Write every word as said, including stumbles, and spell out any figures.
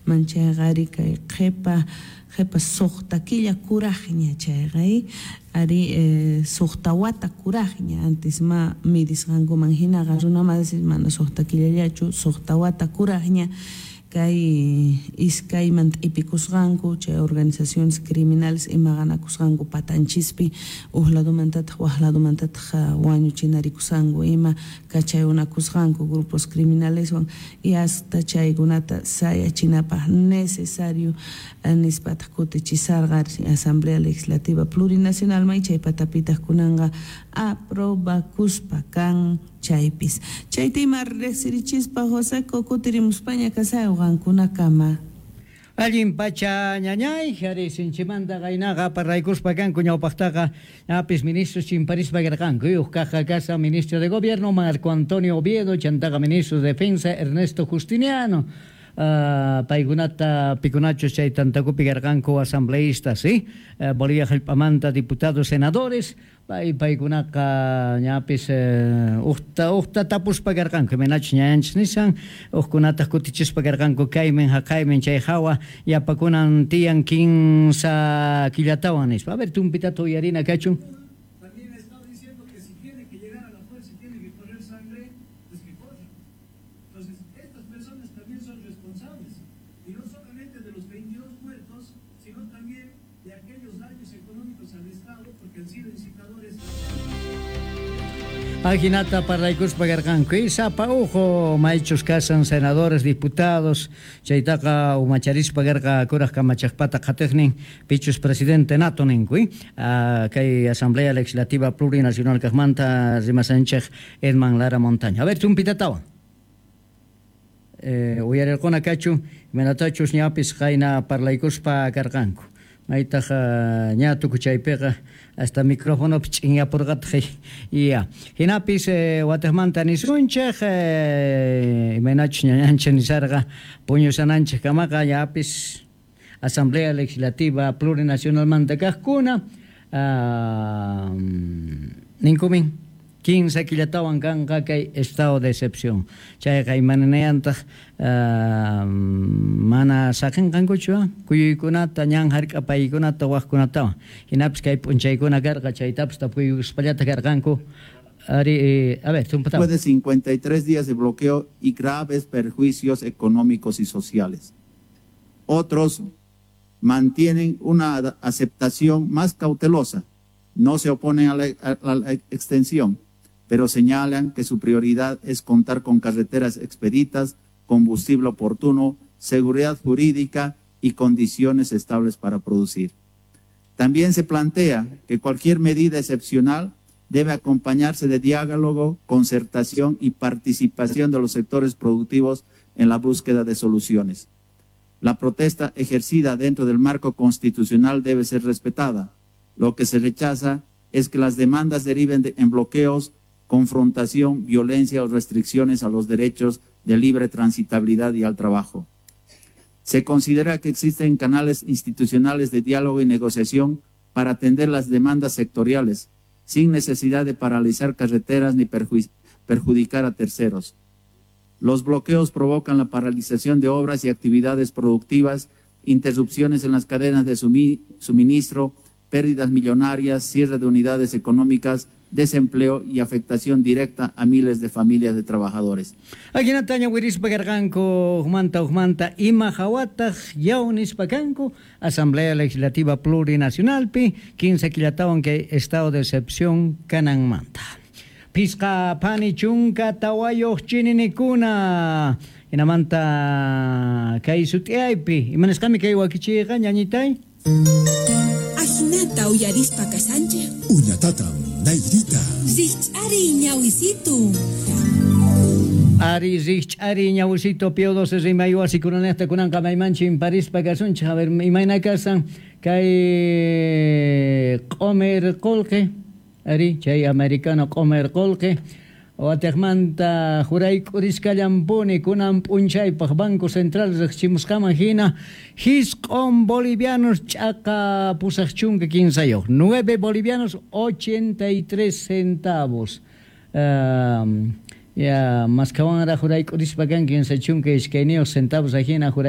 Manchayqa ari kay qhipa qhipa suqta killa kuraqña chayqa ari eh, suqta wata kuraqña antes ma midisqankuman hinaqa runamasis mana suqta killallachu suqta wata kuraqña kay iskayman t'ipikusqanku chay organizaciones criminales imaqanakusqanku patanchispi uj ladomantataq waj ladomantataq wañuchinarikusqanku ima kachayunakusqanku grupos criminaleswan y hasta chaykunata sayachinapaq necesario nispataq kutichisarqa Asamblea Legislativa Plurinacional may chay patapitaq kunanqa aprobakuspa kan chaypis chayta ima riqsirichispa Joseco kutirimuspaña kasay qankunakama. Allin pacha ñañay, ari sinchimanta qaynaqa parlaykuspa kanku ñawpaqtaqa ñapis ministros chimparispa karqanku uj kaqqa kasa ministro de gobierno Marco Antonio Oviedo, chantaqa ministro de defensa Ernesto Justiniano. Uh, paykunata pikunachus chay tantakupi karqanku asambleístas, ¿sí? Uh, Bolivia jallp'amanta diputados, senadores, pay paykunaqa ñapis uh, uqta uqta tapuspa karqanku imaynachus ñañanchis nisan uqkunataq kutichispa karqanku kaymin haqaymin chay hawa yapakunan tiyan kinsa killatawan nispa. A ver, tumpitata uyarina kachun. También ha estado diciendo que si tiene que llegar a la fuerza y tiene que correr sangre, pues que corra. Entonces, estas personas también son responsables, y no solamente de los veintidós muertos, sino también de aquellos daños económicos al Estado, porque han sido incitadores. Ajinata parlaykuspa karqanku y sapa uju maychus kasan senadores, diputados, chaytaqa umacharispa karqa kuraq kamachaqpata qhatiqnin pichus presidente nato ninku, uh, kay Asamblea Legislativa Plurinacional kaqmanta rimasanchej Edman Lara Montaño. A ver, tumpitatawan. Eh, uyarirquna kachu imaynatachus ñapis qayna parlaykuspa karqanku. Maytaq ña tukuchaypiqa hasta micrófonopi ch'inyapurqataq ya. Hinapis eh, wataqmanta nisunchej eh, imaynachus ñañanchej nisarqa puñusananchej kamaqa ñapis Asamblea Legislativa Plurinacionalmanta kaqkuna uh, ninkumin kinsa killatawan kanqa kay estado de excepción. Chayqa imananayantaq uh, mana saqinqankuchu kuyuykunata ñan hark'apaykunata waqkunatawan. Hinapis kay p'unchaykuna karqa chaytapas tapuyuspallata karqanku. Ari, eh, a ver, Después de cincuenta y tres días de bloqueo y graves perjuicios económicos y sociales. Otros mantienen una aceptación más cautelosa. No se oponen a la, a la extensión, pero señalan que su prioridad es contar con carreteras expeditas, combustible oportuno, seguridad jurídica y condiciones estables para producir. También se plantea que cualquier medida excepcional debe acompañarse de diálogo, concertación y participación de los sectores productivos en la búsqueda de soluciones. La protesta ejercida dentro del marco constitucional debe ser respetada. Lo que se rechaza es que las demandas deriven de, en bloqueos, confrontación, violencia o restricciones a los derechos de libre transitabilidad y al trabajo. Se considera que existen canales institucionales de diálogo y negociación para atender las demandas sectoriales, sin necesidad de paralizar carreteras ni perju- perjudicar a terceros. Los bloqueos provocan la paralización de obras y actividades productivas, interrupciones en las cadenas de sumi- suministro, pérdidas millonarias, cierre de unidades económicas, desempleo y afectación directa a miles de familias de trabajadores. Ajinataña wirispa karqanku ujmanta ujmanta ima hawataq yaw nispa kanku Asamblea Legislativa Plurinacionalpi kinsa killatawan kay estado de excepción kananmanta. Pisqa pani chunka tawayuq chininikuna hinamanta kay sut'iaypi imanasqami kay wakichiyqa ñañitay. Ajinata uyarispa kasanchej. Uñatatam nayrita. Rich'ari ñawisitu. Ari rich'ari ñawisitu Pío doce rimay wasi kunanejta kunanqa maymanchin parispa kasunchej. A ver, imayna kasan kay q'umir qullqi ari chay americano q'umir qullqi wataqmanta jurayk'urisqallampuni kunan p'unchaypaq Banco Central riqchimusqaman hina hisq'un bolivianos ch'aqa pusaq chunka kinsayuq nueve bolivianos ochenta y tres centavos. Um, ya maskawanraq jurayk'urispa kan kinsa chunka iskayniyuq centavos ajina juray